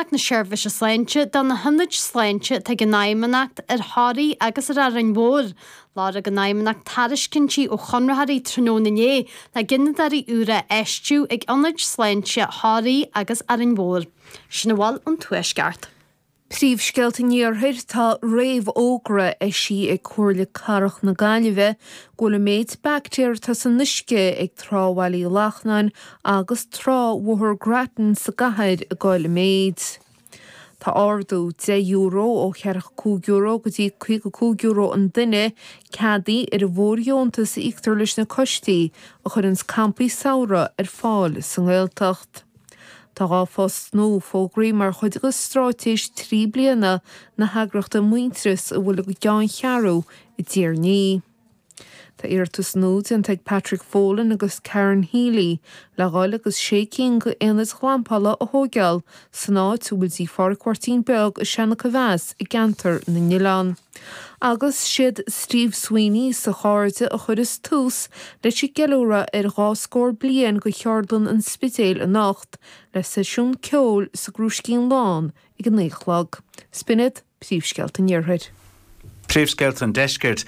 Feidhmeannacht na Seirbhíse Sláinte do na hionaid sláinte atá ag an Fheidhmeannacht ar Thoraigh agus ar Árainn Mhór. Lorg an Fheidhmeannacht tairiscintí ó chonraitheoirí tráthnóna inné le gineadóirí úra a fheistiú ag ionaid sláinte Thoraí agus Árainn Mhór. Sin a bhfuil ón Tuaisceart. Príomhscéalta an Iarthair, Tá réamhfhógra eisithe ag Comhairle Cathrach na Gaillimhe go bhfuil an méid baictéar atá san uisce ag Trá Bhaile Uí Lachnáin agus Trá Bhóthar Grattan sa gcathair ag dul i méid. Tá ardú €10 ó €45 go dtí €55 an duine ceadaithe ar an bhfóirdheontas a íoctar leis na coistí a chuireanns campaí samhraidh ar fáil sa nGaeltacht. Tá 2 phost nua fógraithe mar chuid de straitéis 3 bliana na heagraíochta Muintearas a bhfuil a gceanncheathrú i dTír an Fhia. Tá iarratas nua déanta ag Patrick Folan agus Karen Healy le dhul agus sé cinn d'aonaid ghlampála a thóigeáil san áit a bhfuil dtí Phádraic Mháirtín Beag i Seanachomheas i gCeantar na nOileán. Agus siad Steve Sweeney is a chairde a chuireas tús leis an gceiliúradh ar dhá scór bliain de Cheardlann an Spidéil anocht le seisiún ceoil sa gCrúiscín Lán ag a 9 a chlog. 'S b'in iad príomhscéalta an Iarthair. Príomhscéalta an Deiscirt.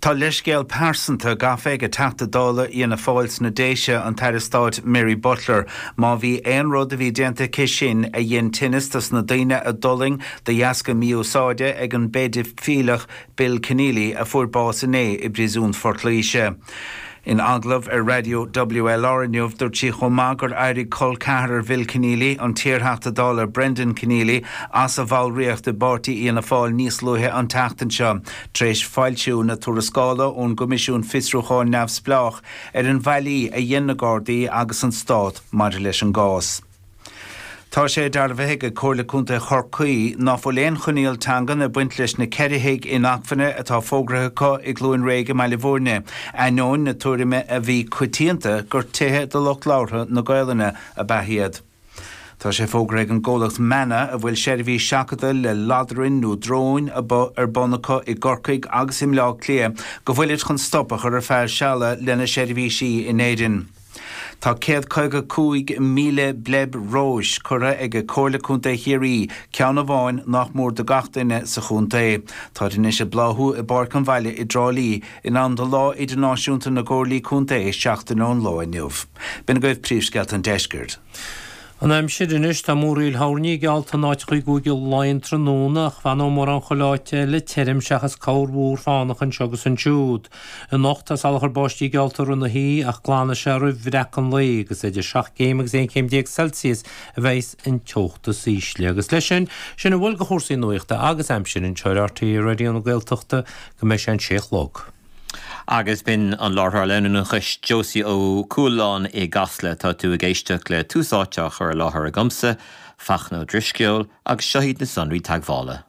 Tá leithscéal pearsanta gafa ag Teachta Dála Fhianna Fáil sna Déise, an tAire Stáit Mary Butler. Má bhí aon rud a bhí déanta aici sin a dhein tinneas dos na daoine a d'fhulaing de dheasca mí-úsáide ag an bpéidifileach Bill Kenneally a fuair bás inné i bpríosún Phort Laoise. In agallamh ar raidió WLR inniu, dúirt sí chomh maith gur éirigh col ceathrar Bhill Kenneally, an t-iarTheachta Dála Brendan Kenneally, as a bhallraíocht i bpáirtí Fhianna Fáil níos luaithe an tseachtain seo tar éis foilsiú na tuarascála ón gCoimisiún Fiosrúcháin Neamhspleách ar an bhfaillí a dhein na Gardaí agus an Stát maidir leis an gcás. Tá sé dearbhaithe ag Comhairle Contae Chorcaí ná fuil aon choinníoll teangan ag baint leis na 4 thigh inacmhainne atá fógraithe acu i gCluain Réidh i mBaile Bhúirne, ainneoin na tuairime a bhí coitianta gur tithe do lucht labhartha na Gaolainne ab ea iad. Tá sé fógraithe ag an gcomhlacht Manna, a bhfuil seirbhís seachadta le ladrainn nó dróin ar bun acu i gCorcaigh agus i mBleá Cliath, go bhfuilid chun stop a chur ar feadh seala lena seirbhísí in Éirinn. Tá 155,000 bleib róis curtha ag Comhairle Contae Chiarraí, ceann amháin nach mór do gach duine sa chontae. Táid anois ag bláthú i bPáirc an Bhaile i dTrá Lí in am do Lá Idirnáisiúnta na gComhairlí Contae seachtain ón lá inniu. B'in agaibh príomhscéalta an deiscirt. An aimsir anois, tá múraíl thoirní geallta in áiteacha i gCúige Laighean tráthnóna ach fanóidh mórán chuile áit eile tirim seachas corrmhúr fánach anseo agus ansiúd. Anocht tá salachar báistí geallta i rith na hoíche ach glanfaidh sé roimh bhreacadh an lae agus idir 7 gcéim agus 11 chéim Celsius a bheidhs an teocht is ísle. Agus leis sin, sin a bhfuil de chúrsaí nuachta agus aimsire anseo ar RTÉ Raidió na Gaeltachta go mbeidh sé an sé a chlog. Agus b'in an láithreoir leanúnachais Josie Ó Cualáin i gCasla. Tá tú ag éisteacht le Tús Áite á chur i láthair agamsa, Fachtna Ó Drisceoil, agus seo iad na sonraí teagmhála.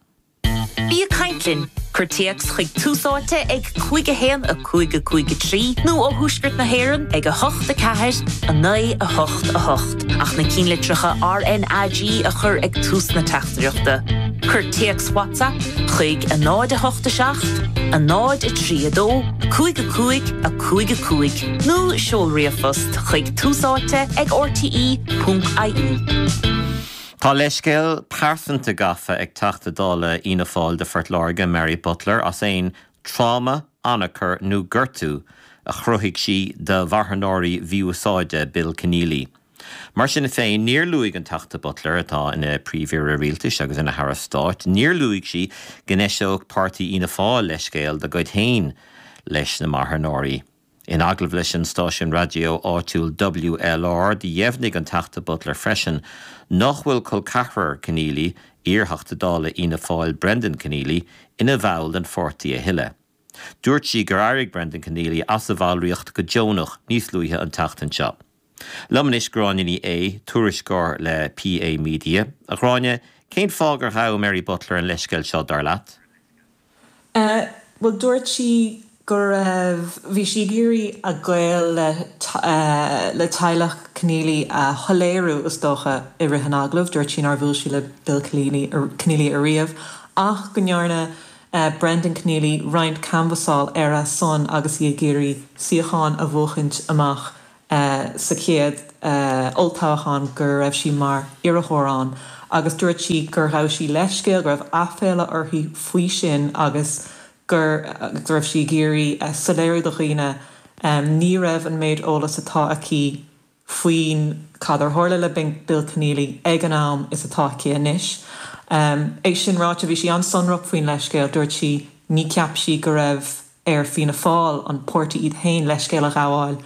Bí ag caint linn! Cuir téacs chuig Tús Áite ag 5 1 5 5 3 nó ó Thuaisceart na hÉireann ag 8 4 9 8 8 ach na cinnlitreacha RnaG a chur ag tús na teachtaireachta. Cuir téacs WhatsApp chuig 0 8 7 0 3 2 5 5 5 5 nó seol ríomhphost chuig túsáite ag rte.ie. Tá leithscéal pearsanta gafa ag Teachta Dála Fhianna Fáil do Phort Láirge, Mary Butler, as aon tráma, anacair nó gortú a chruthaigh sí do mharthanóirí mhí-úsáide Bill Kenneally. Mar sin féin, níor luaigh an Teachta Butler, atá ina Príomh-Aire Rialtais agus ina hAire Stáit, níor luaigh sí go n-eiseodh páirtí Fhianna Fáil leithscéal dá gcuid féin leis na marthanóirí. In agallamh leis an stáisiún raidió áitiúil WLR, do dheimhnigh an Teachta Butler freisin nach bhfuil col ceathrar Kenneally, iar-Theachta Dála Fhianna Fáil Brendan Kenneally, ina bhall den pháirtí a thuilleadh. Dúirt sí gur éirigh Brendan Kenneally as a bhallraíocht go deonach níos luaithe an tseachtain seo. Liom anois Gráinne Ní Aodha, tuairisceoir le PA Media. A Ghráinne, cén fáth gur ghabh Mary Butler an leithscéal seo, dar leat? Bhuel, dúirt sí go raibh, bhí sí ag iarraidh a gaol le, le teaghlach Kenneally a shoiléiriú, is dócha, i rith an agallaimh. Dúirt sí nár bhuail sí le Bill Kenneally ariamh ach go ndearna Brendan Kenneally roinnt canbhasáil ar a son agus í ag iarraidh suíochán a bhuachaint amach sa chéad olltoghchán go raibh sí mar iarrthóir ann. Agus dúirt sí gur ghabh sí leithscéal, go raibh aiféala uirthi faoi sin agus gur go raibh sí ag iarraidh soiléiriú do dhaoine ní raibh an méid eolas atá aici faoin cad ar tharla le Bill Conneely ag an am is atá aici anois. É sin ráite, bhí sí an-sonrach faoin leithscéal. Dúirt sí ní cheap sí go raibh ar Fianna Fáil, an páirtí iad féin, leithscéal a ghabháil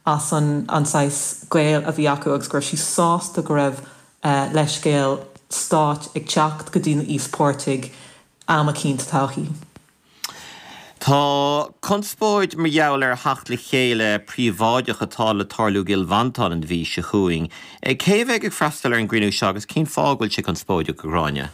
as an an saghas gaol a bhí acu agus go raibh sí sásta go raibh leithscéal stáit ag teacht go dtí na íospartaigh am eicínt sa todhchaí. Tá conspóid mar gheall ar theacht le chéile príobháideach atá le tarlú i gCill Mhantáin an mhí seo chugainn. Cé a bheidh ag freastal ar an gcruinniú seo agus cén fáth go bhfuil sé conspóideach, a Ghráinne?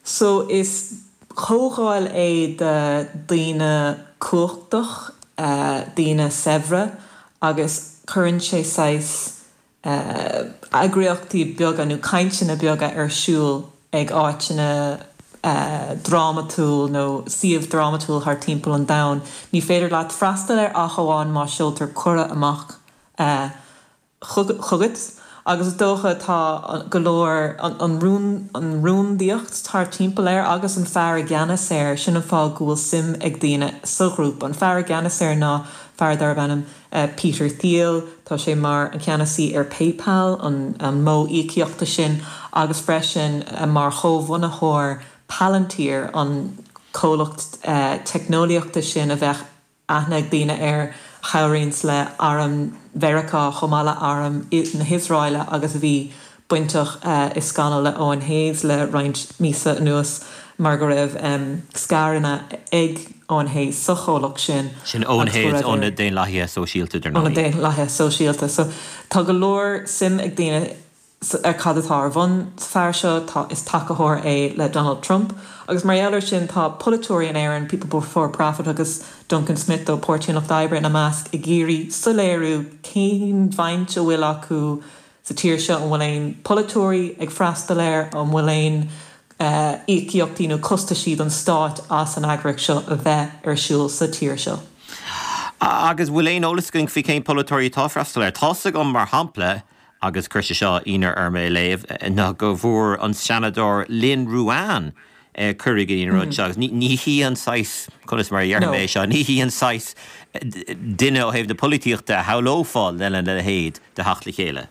So is comhdháil é de daoine cumhachtach, daoine saibhre agus cuireann sé saghas eagraíochtaí beaga nó cainteanna beaga ar siúl ag áiteanna drámatúil nó suíomh drámatúil thar timpeall an domhain. Ní féidir leat freastal air ach amháin má seoltar cuireadh amach chugat agus is dócha tá go leor, an rúndaíocht thar timpeall air agus an fear i gceannas air, sin an fáth go bhfuil suim ag daoine sa ghrúpa. An fear i gceannas air ná fear darb ainm Peter Thiel, tá sé mar an ceannasaí ar PayPal, an modh íocaíochta sin, agus freisin mar chomhbhunaitheoir Palantir, an comhlacht teicneolaíochta sin a bheadh aithne ag daoine air, a chabhraíonns le arm Mheiriceá chomh maith le arm na hIosraeile agus a bhí bainteach i scannal le Eoin Hayes le roinnt míosa anuas mar go raibh scaireanna ag Eoin Hayes sa chomhlacht sin Sin Eoin agus go Hayes raibh ó na Daonlathaithe Sóisialta, dar ó na ndóigh. Daonlathaithe Sóisialta. So tá go leor suim ag daoine ar cad atá ar bun sa fear seo. Tá, is tacaitheoir é le Donald Trump agus mar gheall ar sin tá polaiteoirí in Éirinn, People Before Profit agus Duncan Smith ó Páirtí an Lucht Oibre ina measc, ag iarraidh soiléiriú cén bhaint a bhfuil acu sa tír seo, an bhfuil aon polaiteoirí ag freastal air, an bhfuil aon íocaíochtaí nó costaisí don stáit as an eagraíocht seo a bheith ar siúl sa tír seo. Agus bhfuil aon eolas againn faoi cén polaiteoirí atá ag freastal air? Tá's agam, mar shampla, agus chuir sé seo ionadh orm é a léamh, ná go bhfuair an Seanadóir Lynn Ruane cuireadh go dtí an rud seo agus ní hí an saghas, conas mar a déarfaidh mé é seo, ní hí an saghas duine ó thaobh na polaitíochta a shamhlófá lena leithéid de theacht le chéile.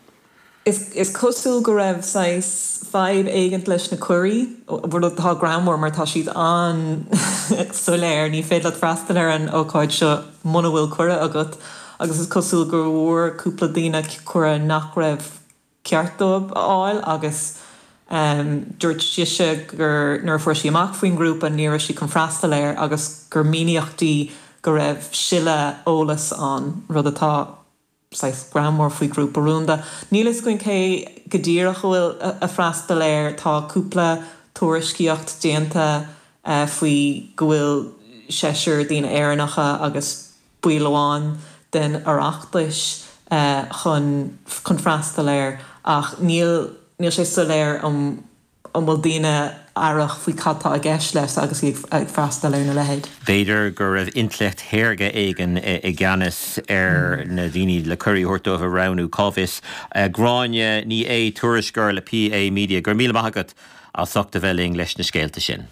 Is cosúil go raibh saghas fadhb éigint leis na cuirí, rud atá greannmhar mar tá siad an-soiléir, ní féidir leat freastal ar an ócáid seo muna bhfuil cuireadh agat agus is cosúil go bhfuair cúpla daoine cuireadh nach raibh ceart dóibh a fháil agus dúirt sise gur nuair a fuair sí amach faoin ngrúpa ní raibh sí chun freastal air agus gur míníodh di go raibh sileadh eolais ann, rud atá saghas greannmhar faoi ghrúpa rúnda. Níl a fhios againn cé go díreach a bhfuil ag freastal air, tá cúpla tuairiscíocht déanta faoi go bhfuil seisear daoine Éireannacha agus baill amháin den Oireachtas chun chun freastal air ach níl níl sé soiléir an an bhfuil daoine aireach faoi cad tá i gceist leis agus iad ag freastal ar na leithéid. B'fhéidir go raibh intleacht shaorga éigin i gceannas ar na daoine le cuirí a thabhairt dóibh a roghnú, cá bhfios. Gráinne Ní Aodha, tuairisceoir le PA Media, go raibh míle maith agat as ucht a bheith linn leis na scéalta sin.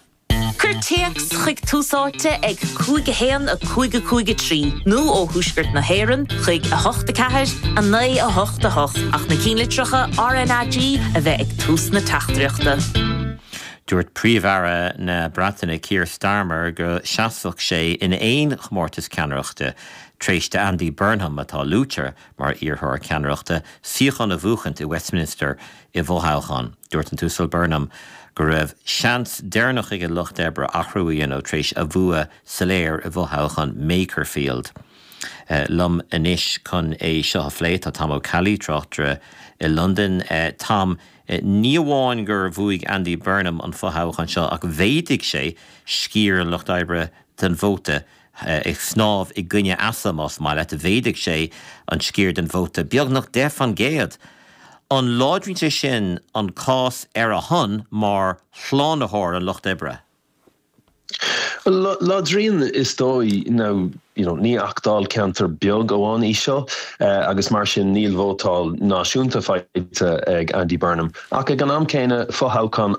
Cuir téacs chuig Tús Áite ag 5 1 5 5 3 nó ó thuaisceart na hÉireann chuig 8 4 9 8 8 ach na cinnlitreacha RnaG a bheith ag tús na teachtaireachta. Dúirt Príomh-Aire na Breataine Keir Starmer go seasfadh sé in aon chomórtas ceannaireachta tar éis d'Andy Burnham, atá luaite mar iarrthóir ceannaireachta, suíochán a bhuachaint i Westminster i bhfothoghchán. Dúirt an tUasal Burnham go raibh seans deireanach ag an Lucht Oibre athrú a dhéanamh tar éis a bhua soiléir i bhfothoghchán Makerfield. Liom anois chun é seo a phlé tá Tom Ó Ceallaigh, tráchtaire i Londain. Tom, ní amháin gur bhuaigh Andy Burnham an fothoghchán seo ach mhéadaigh sé sciar an Lucht Oibre den vóta. Ag snámh i gcoinne easa, más maith leat, mhéadaigh sé an sciar den vóta beagnach 10 fan gcéad. An láidríonn sé sin an cás ar a shon mar shlánaitheoir an lucht oibre? Láidríonn is dóigh. Now, you know, ní ach dáilcheantar beag amháin í seo agus mar sin níl vótáil náisiúnta faighte ag Andy Burnham. Ach ag an am céanna, fothoghchán.